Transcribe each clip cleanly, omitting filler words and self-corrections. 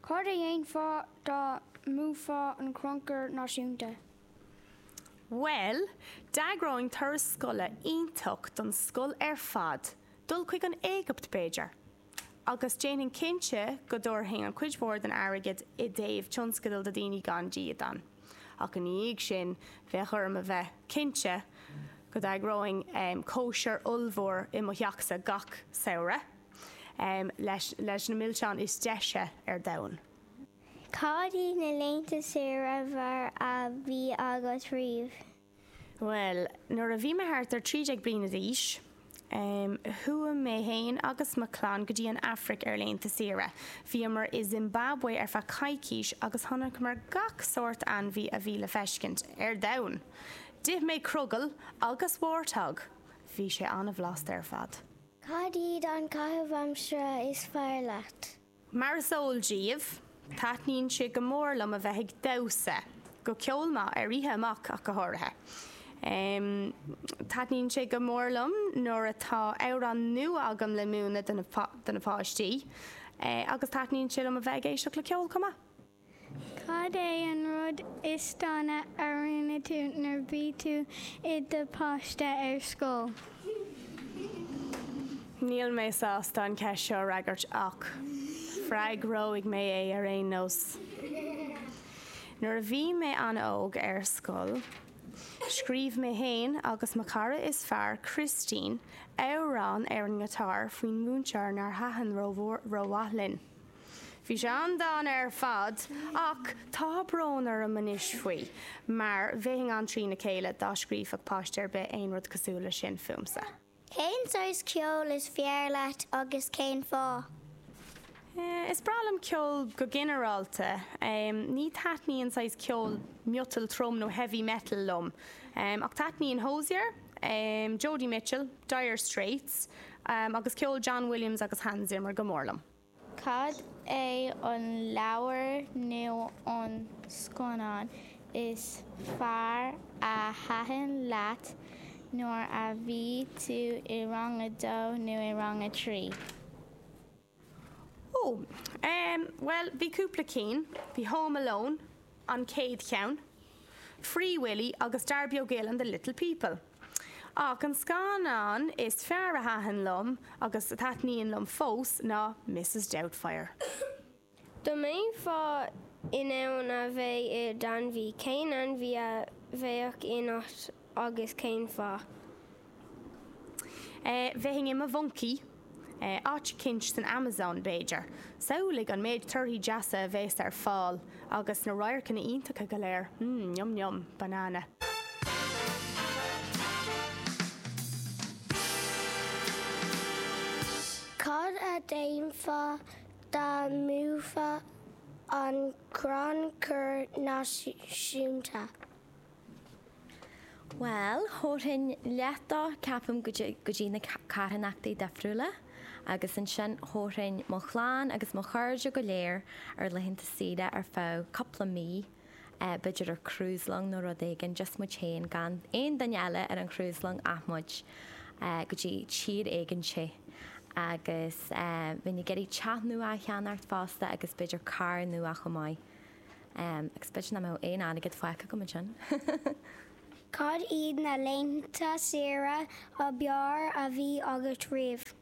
Cad a dhéanfá dá mbuafá an Crannchur Náisiúnta? Bhuel, d'eagróinn turas scoile iontach don scoil ar fad, dul chuig an Éigipt b'fhéidir. Agus déanfainn cinnte go dtabharfainn an chuid mhór den airgead i dtaobh tionscadal do daoine gan dídean. Ach ina dhiaidh sin, bheadh orm a bheith cinnte go d'eagróinn cóisir ollmhór i mo theachsa gach samhradh leis leis na milseáin is deise ar domhan. Cad iad na laethanta saoire ab fhearr a bhí agat riamh? Bhuel, nuair a bhí mé thart ar 13 bliana d'aois, chuaigh mé fhéin agus mo chlann go dtí an Afraic ar laethanta saoire. Bhíomar i Zimbabwe ar feadh coicís agus chonaiceamar gach sórt ainmhí a bhí le feiscint ar domhan. D'ith mé crogall agus warthog! Bhí sé an-bhlasta ar fad. Cad iad an caitheamh aimsire is fearr leat? Mar is eol daoibh, taitníonn sé go mór liom a bheith ag damhsa, go ceol maith, ar oíche amach ach go háirithe. Taitníonn sé go mór liom nuair atá amhrán nua agam le múineadh do na páistí agus taitníonn sé liom a bheith ag éisteacht le ceol chomh maith. Cad é an rud is dona a rinne tú nuair bhí tú i do pháiste ar scoil? Níl mé sásta an cheist seo a fhreagairt ach freagróidh mé é ar aon nós. Nuair a bhí mé an-óg ar scoil, scríobh mé fhéin agus mo chara is fearr, Christine, amhrán ar an ngiotár faoin mhúinteoir nár thaitin rómhaith linn. Bhí sé an-dána ar fad ach tá brón orm anois faoi mar bheinn an-trína chéile dá scríobhfadh páiste ar bith aon rud cosúil leis sin fúmsa. Cén saghas ceoil is fearr leat agus cén fáth? Is breá liom ceol go ginearálta. Ní taitníonn saghas ceol miotal trom nó heavy metal liom ach taitníonn Hozier, Joni Mitchell, Dire Straits agus ceol John Williams agus Hans Zimmer go mór liom. Cad é an leabhar nó an scannán is fearr a thaitin leat nuair a bhí tú i rang a dó nó i rang a 3? Ó, em, bhuel, bhí cúpla cinn. Bhí Home Alone, an chéad cheann, Free Willy agus Darby O'Gill and the Little People. Ach an scannán is fearr a thaitin liom, agus a thaitníonn liom fós, ná Mrs Doubtfire. Dá mbeifeá in ann a bheith i d'ainmhí, cén ainmhí a bheadh ionat agus cén fáth? Bheinn i mo mhoncaí. Áit eicínt san Amazon, b'fhéidir. Samhlaigh an méid torthaí deasa a bheas ar fáil agus na radharcanna iontacha go léir. Mmm, yum yum, banana. Cad a dhéanfá dá mbuafá an Crannchur Náisiúnta? Bhuel, thabharfainn leath dó, ceapaim, go dtí na carthanachtaí difriúla agus ansin thabharfainn mo chlann agus mo chairde go léir ar laethanta saoire ar feadh cúpla mí, b'fhéidir ar cruise long nó rud éigin, just muid féin, gan aon duine eile ar an cruise long ach muid, go dtí tír éigin te. Agus bheinn ag iarraidh teach nua a cheannacht fosta agus b'fhéidir carr nua chomh maith. Agus b'fhéidir nach mbeadh aon airgead fágtha agam ansin. Cad iad na laethanta saoire ab fhearr a bhí agat riamh?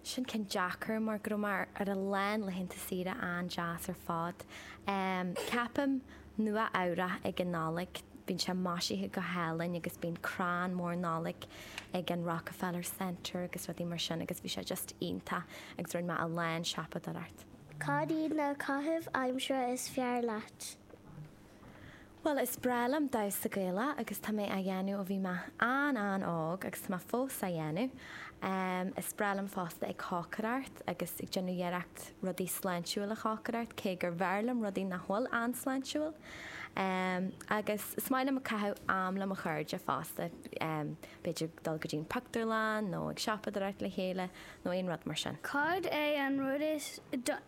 Sin ceann deacair mar go raibh mé ar a lán laethanta saoire an-deas ar fad. Ceapaim Nua Eabhrach ag an Nollaig, bíonn sé maisithe go hálainn agus bíonn crann mór Nollag ag an Rockefeller Center agus rudaí mar sin agus bhí sé just iontach agus rinne mé a lán siopadóireacht. Cad iad na caithimh aimsire is fearr leat? Bhuel, is breá liom damhsa Gaelach agus tá mé á dhéanamh ó bhí mé an-an-óg agus tá mé fós á dhéanamh. Is breá liom fosta ag cócaireacht agus ag déanamh iarracht rudaí sláintiúil a chócaireacht, cé gur bhfearr liom rudaí nach bhfuil an-sláintiúil. Agus is maith liom ag caitheamh am le mo chairde fosta, b'fhéidir dul go dtí an pictiúrlann nó ag siopadóireacht le chéile. nó aon rud mar sin. Cad é an rud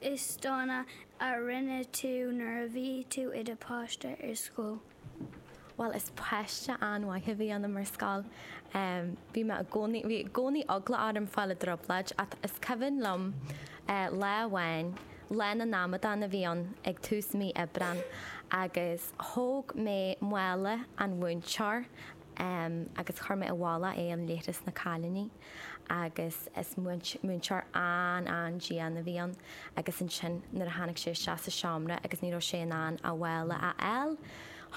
is dona a rinne tú nuair a bhí tú i do pháiste ar scoil? Bhuel, is páiste an-mhaith a bhí ionam ar scoil. Bhí mé i gcónaí, bhí i gcónaí eagla orm fáil i dtrioblóid ach is cuimhin liom lá amháin. Lá na nAmadán a bhí ann ag tús mí Aibreán agus thóg mé mála an mhúinteoir agus chuir mé i bhfolach é i leithreas na cailíní agus is múinteoir an-an-dian a bhí ann agus ansin nuair a tháinig sé isteach sa seomra agus ní raibh sé in ann a mhála a fháil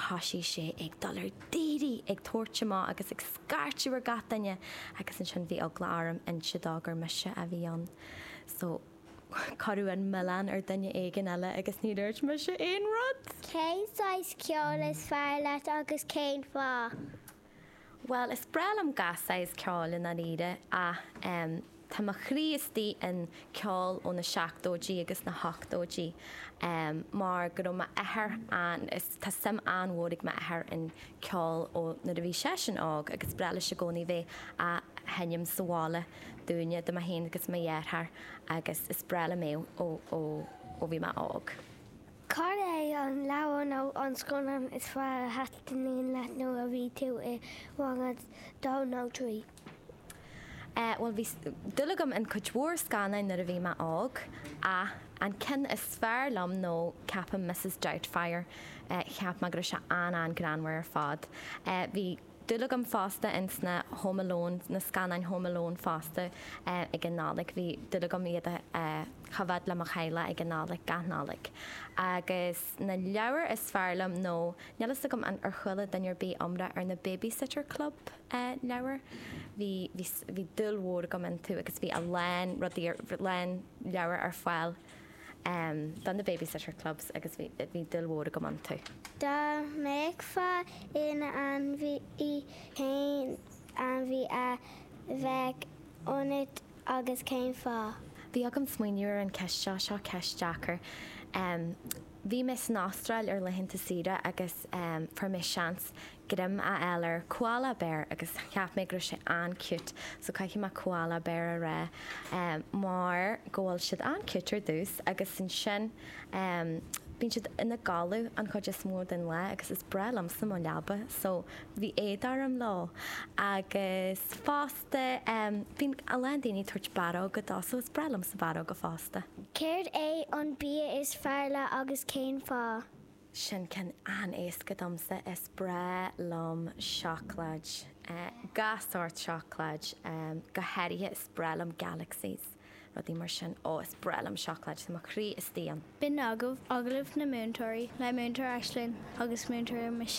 thoisigh sé ag dul ar daoirí ag tabhairt amach agus ag scairteadh ar gach duine agus ansin bhí eagla orm inse dó gur mise a bhí ann so cuireadh an milleán ar duine éigin eile agus ní dúirt mise aon rud! Cén saghas ceoil is fearr leat agus cén fáth? Bhuel, is breá liom gach saghas ceoil i ndáiríre ach em tá mo chroí istigh in ceol ó na seachtóidí agus na hochtóidí em mar go raibh m'athair an, is tá suim an-mhór ag m'athair in ceol ó nuair a bhí seisean óg agus breá leis i gcónaí bheith á sheinm sa bhaile dúinne, do mé féin agus mo dheartháir agus is breá liom é ó ó ó bhí mé óg. Cad é an leabhar nó an scannán is fearr a thaitníonn leat nuair a bhí tú i rang a dó nó trí? Eh, bhuel bhí dúil agam in cuid mhór scannáin nuair a bhí mé óg ach an ceann is fearr liom nó ceapaim Mrs Doubtfire. Eh, cheap mé go raibh sé an-an-greannmhar ar fad. Eh, bhí dúil agam fosta ins na Home Alone, na scannáin Home Alone fosta ag an Nollaig. Bhí dúil agam iad a choimhéad le mo theaghlach ag an Nollaig, gach Nollaig. Agus na leabhair is fearr liom nó, níl fhios agam an ar chuala duine ar bith iomrá ar na Babysitter Club leabhair. Bhí, bhí, bhí dúil mhór agam iontu agus bhí a lán rudaí, a lán leabhar ar fáil. do na Babysitter Clubs agus bhí bhí dúil mhór agam iontu. Dá mbeifeá ina ainmhí, cén ainmhí a bheadh ionat agus cén fáth? Bhí agam smaoineamh ar an ceist seo, seo ceist deacair. Bhí mé san Astráil ar laethanta saoire agus fuair mé seans greim a fháil ar koala bear agus cheap mé go raibh sé an-cute so caithfidh mé koala bear a rá mar go bhfuil siad an-cute ar dtús agus ansin bíonn siad ina gcodladh an chuid is mó den lá agus is breá liomsa mo leaba so bhí éad orm leo agus fosta bíonn a lán daoine ag tabhairt barróga dó so is breá liomsa barróga fosta. Céard é an bia is fearr leat agus cén fáth? Sin ceann an-éasca domsa, is breá liom seacláid, gach sórt seacláid, go háirithe is breá liom Galaxies, rudaí mar sin, ó is breá liom seacláid, tá mo chroí istigh ann. B'in agaibh Agallamh na Múinteoirí le Múinteoir Aisling agus Múinteoir Michelle.